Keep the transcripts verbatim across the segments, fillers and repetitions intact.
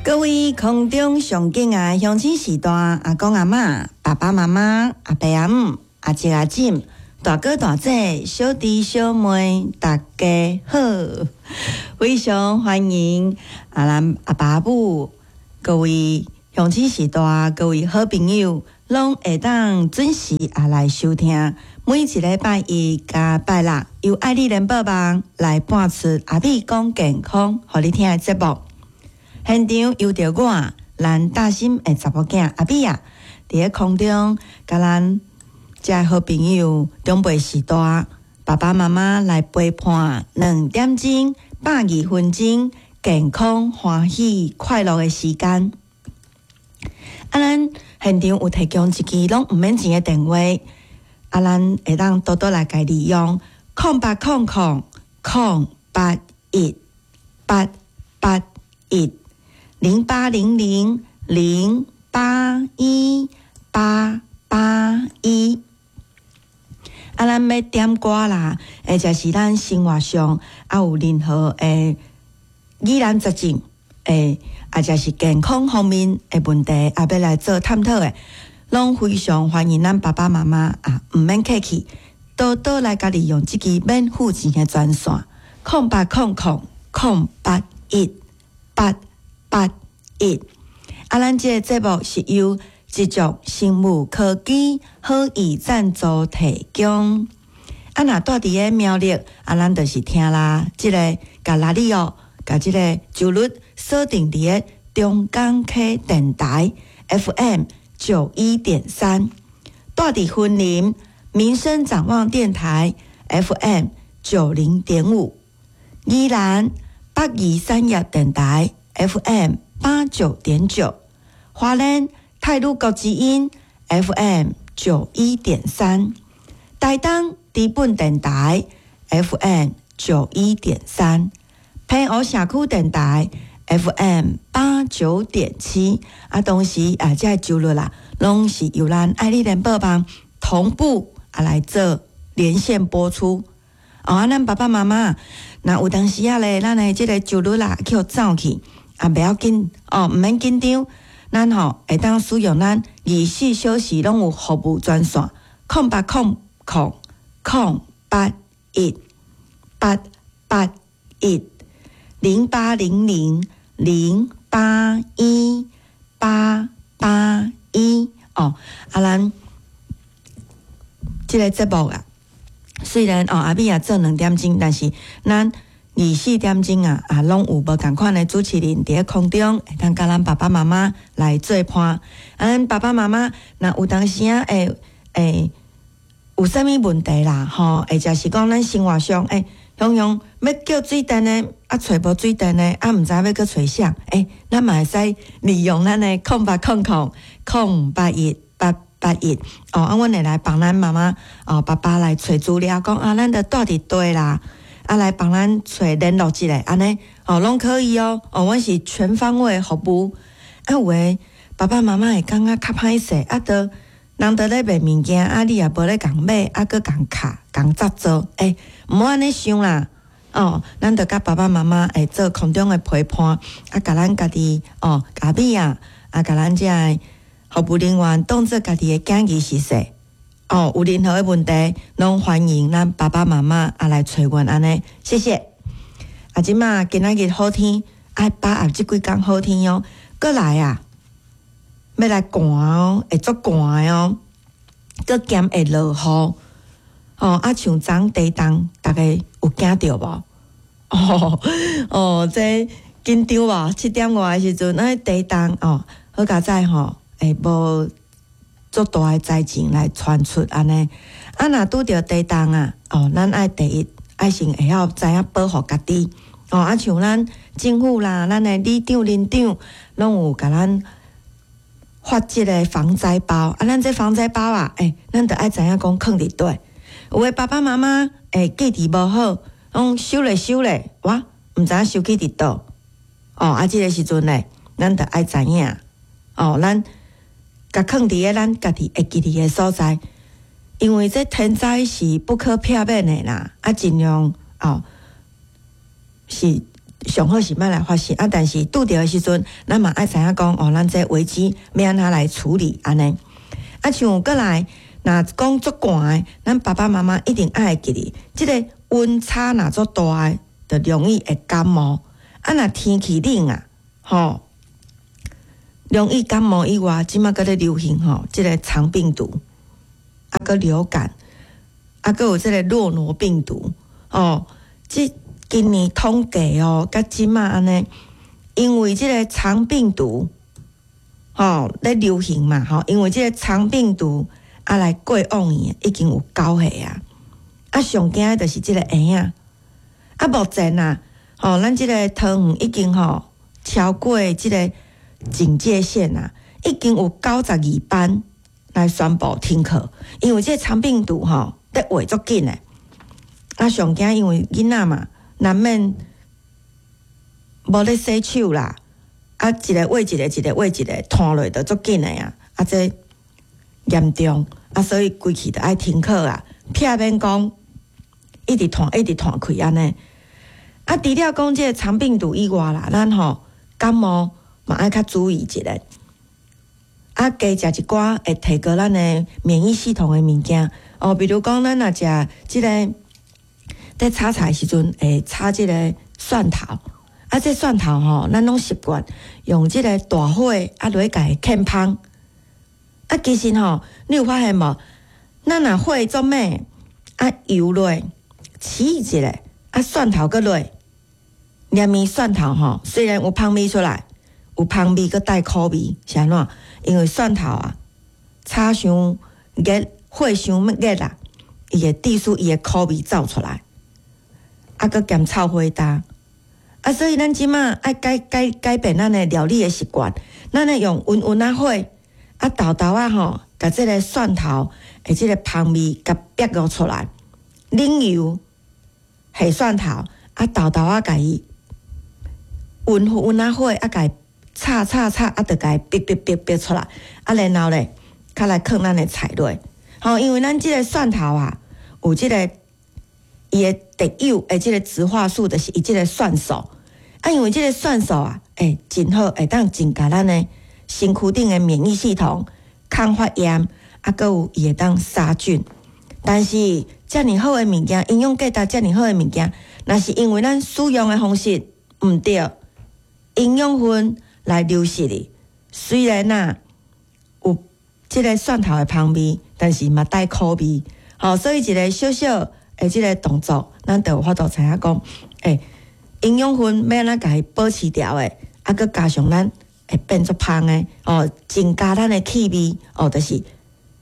各位空中上敬愛鄉親序大阿公阿嬤、爸爸媽媽、阿爸阿姆、阿叔阿婶、大哥大姐、小弟小妹，大家好！非常歡迎啊，咱阿爸阿母、各位鄉親序大、各位好朋友，攏會當準時啊來收聽每一禮拜一佮拜六由愛麗聯播網來播出阿美講健康，予你聽的節目。現場由著我，咱大心的查某囝阿美啊，佇咧空中佮咱遮好朋友長輩序大爸爸媽媽來陪伴兩點鐘百二分鐘健康歡喜快樂的時間。啊，咱現場有提供一支攏毋免錢的電話，啊，咱會當多多來共利用空八空空空八一八八一。零八零零零八一八八一，啊，咱欲點歌啦，或者是咱生活上啊有任何的疑難雜症，欸，或者是健康方面的問題，啊，欲來做探討的，攏非常歡迎咱爸爸媽媽啊，毋免客氣，多多來共利用這支免付錢的專線，空八空空空八一八八一，啊，咱這個節目是由一族生物科技好意贊助提供。啊，若蹛佇咧苗栗，啊，咱就是聽啦，這个共拉里奧，共這个周日鎖定佇咧中港溪電台 F M 九一點三，蹛佇雲林民生展望電台 F M 九零點五，宜蘭北宜產業電台 F M 八九點九，花蓮太魯閣之音 F M 九一點三，台東知本電台 F M 九一點三，澎湖社區電台 F M 八九點七，啊，同時啊，這个周日啦，攏是由咱愛麗聯播網同步啊來做連線播出。哦，啊，咱爸爸媽媽，若有當時仔咧，咱的這个周日啦，去予走去，啊，袂要緊哦，毋免緊張。咱吼會當使用咱二十四小時攏有服務專線，空八空空空八一八八一零八零零零八一八八一哦。啊，咱這个節目啊，雖然哦阿美也做兩點鐘，但是咱二十四點鐘啊，啊，攏有無仝款的主持人佇咧空中，會當佮咱爸爸媽媽來做伴。啊，咱爸爸媽媽若有當時仔會會有啥物問題啦，吼，或者是講咱生活上欸，常常欲叫水電的，啊，揣無水電的，啊，毋知欲閣揣誰，欸，咱嘛會使利用咱的空八空空空八一八八一哦，啊，阮會來幫咱媽媽哦，爸爸來揣資料，講啊，咱著蹛佇佗啦。啊，來幫咱揣聯絡一下，按呢哦，攏可以哦。哦，阮是全方位服務。啊，有的爸爸媽媽會感覺較歹勢，啊，著人佇咧賣物件，啊，你也無咧共買，啊，閣共卡共執做，欸，毋好按呢想啦。哦，咱著佮爸爸媽媽會做空中的陪伴，啊，共咱家己哦，阿美啊，啊，共咱這个服務人員當做家己的囝兒熟似。哦，有任何的問題，攏歡迎咱爸爸媽媽啊來揣阮按呢，謝謝。啊，這馬今仔日好天，愛把握這幾工好天哦。閣來啊，欲來寒哦，會足寒的哦，閣兼會落雨。哦，啊，像昨地動，逐家有驚著無？哦哦，這緊張無？七點外的時陣，那地動哦，好佳哉吼，會無足大的災情來傳出按呢。啊，若拄著地動啊，哦，咱愛第一愛先會曉知影保護家己。哦，啊，像咱政府啦，咱的里長、鄰長，攏有共咱發這个防災包。啊，咱這防災包啊，欸，咱著愛知影講囥佇佗。有的爸爸媽媽欸記憶無好，講收咧收咧，哇，毋知影收去佇佗。哦，啊，這个時陣咧，咱著愛知影。哦，咱共囥佇咧咱家己會記得的所在，因為這天災是不可避免的啦。啊，盡量哦，是上好是莫來發生啊！但是拄著的時陣，咱嘛愛知影講哦，咱這危機欲按怎來處理按呢。啊，像閣來，若講足寒的，咱爸爸媽媽一定愛會記得，這个溫差若足大的，就容易會感冒。啊，若天氣冷啊，吼，容易感冒以外，這馬閣咧流行吼，這个腸病毒，啊，閣流感，啊，閣有這个諾羅病毒，哦，這今年統計哦，佮這馬按呢，因為這个腸病毒，吼咧流行嘛，吼，因為這个腸病毒啊來過往院已經有九個啊，啊上驚的就是這个嬰仔，啊目前啊，吼，咱這个桃園已經吼超過這个警戒線啊，已經有九十二班來宣布停課，因為這个腸病毒吼咧穢足緊的，啊上驚因為囡仔嘛，難免無咧洗手啦，啊，一个餵一個，一個餵一個，傳落就足緊的啊！啊，這嚴重啊，所以規氣就愛停課啊，避免講一直傳，一直傳開按呢。啊，除了講這个腸病毒以外啦，咱吼感冒嘛愛較注意一下。啊，加食一寡會提高咱的免疫系統的物件哦，比如講咱若食這个。佇炒菜時陣會炒這个蒜頭，啊，這蒜頭吼，咱攏習慣用這个大火啊落去共伊劵芳。啊，其實吼，你有發現無？咱若火足猛，啊油落，起一下，啊蒜頭閣落，連面蒜頭吼，雖然有芳味出來，有芳味閣帶苦味，是按怎？因為蒜頭啊，炒傷熱，火傷熱啦，伊會致使伊的苦味走出來。啊，閣兼臭火焦，啊，所以咱這馬愛改改改變咱的料理的習慣，咱愛用溫溫仔火，啊，沓沓仔吼，共這个蒜頭的這个芳味共逼落出來，冷油下蒜頭，啊，沓沓仔共伊溫溫仔火，啊，共伊炒炒炒，啊，就共伊逼逼逼逼出來，啊，然後咧，較來囥咱的菜落，吼，因為咱這个蒜頭啊，有這个。伊的特有的這个植化素，就是伊這个蒜素。啊，因為這个蒜素啊，欸，真好，會當增加咱的身軀頂的免疫系統，抗發炎，啊，閣有伊會當殺菌。但是遮爾好的物件，營養價值遮爾好的物件，若是因為咱使用的方式毋對，營養分來流失去。雖然啊有這个蒜頭的芳味，但是嘛帶苦味。吼，所以一个小小的這个動作，咱就有法度知影講，欸，營養分欲按怎共伊保持牢的，啊，閣加上咱會變做芳的，哦，增加咱的氣味，哦，就是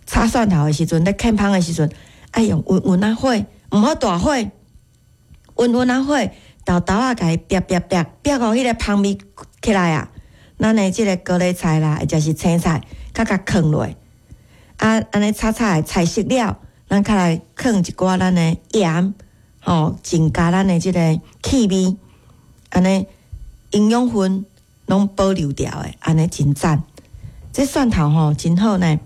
炒蒜頭的時陣，咧劵芳的時陣，愛用溫溫仔火，毋好大火，溫溫仔火，沓沓仔共伊煏煏煏，煏予彼个芳味起來啊！咱的這个高麗菜啦，或者是青菜，較共囥落，啊，按呢炒炒的菜熟了。咱較來囥一寡咱的鹽，吼，增加咱的這个氣味，按呢營養分攏保留牢的，按呢真讚。這蒜頭吼真好呢，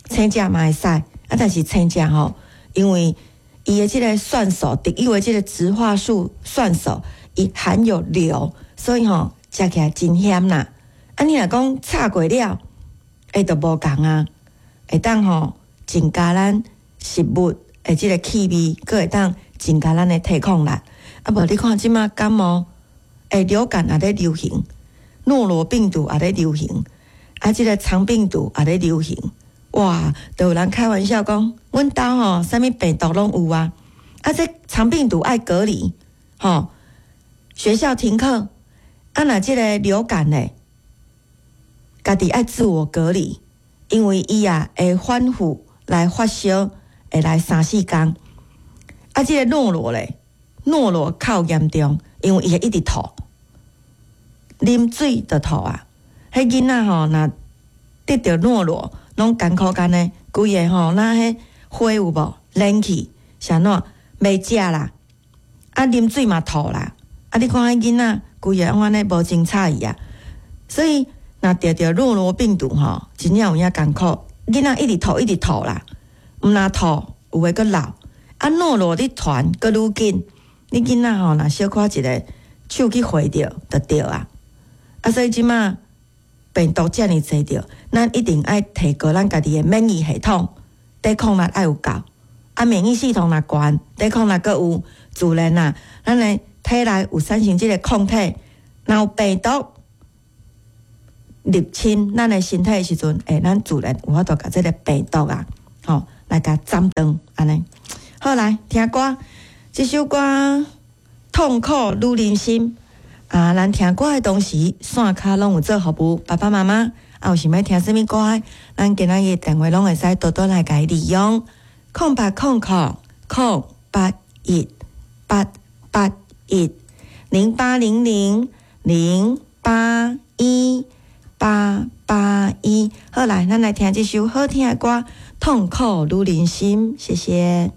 生食嘛會使，啊，但是生食吼，因為伊的這个蒜素，特有的這个植化素蒜素，伊含有硫，所以吼食起來真鹹啦。啊，你若講炒過了，會就無仝啊，會當吼增加咱食物的這个氣味，閣會當增加咱的抵抗力。啊，無你看這馬感冒，欸，流感也咧流行，諾羅病毒也咧流行，啊，這个腸病毒也咧流行。哇，都有人開玩笑講，阮兜吼啥物病毒攏有啊。啊，這腸病毒愛隔離，吼，學校停課。啊，若這个流感咧，家己愛自我隔離，因為伊啊會反覆來發燒。會來三四工，啊，這个諾羅咧，諾羅較嚴重，因為伊會一直吐，啉水就吐啊。彼囡仔吼，若得著諾羅，攏艱苦艱呢，規个吼，若彼火有無燃起，是按怎袂食啦，啊，啉水嘛吐啦，啊，你看彼囡仔規个攏按呢無精采去啊。所以若得著諾羅病毒吼，真正有影艱苦，囡仔一直吐，一直吐啦。毋但吐，有的閣流。啊，諾羅咧傳閣愈緊，你囡仔吼，若小可一个手去回著就著啊。啊，所以這馬病毒遮爾濟著，咱一定愛提高咱家己的免疫系統，抵抗力愛有夠。啊，免疫系統若懸，抵抗力閣有，自然啊，咱的體內有產生這个抗體，若有病毒入侵咱的身體的時陣，欸，咱自然有法度共這个病毒啊，吼，來共斬斷按呢。好，來聽歌，這首歌《痛苦女人心》啊，咱聽歌的同時，線跤攏有做服務，爸爸媽媽啊，有想欲聽啥物歌的，咱今仔日電話攏會使多多來共伊利用，空八空空空八一八八一零八零零零八一八八一。好，來，咱來聽這首好聽的歌《痛苦女人心》，謝謝。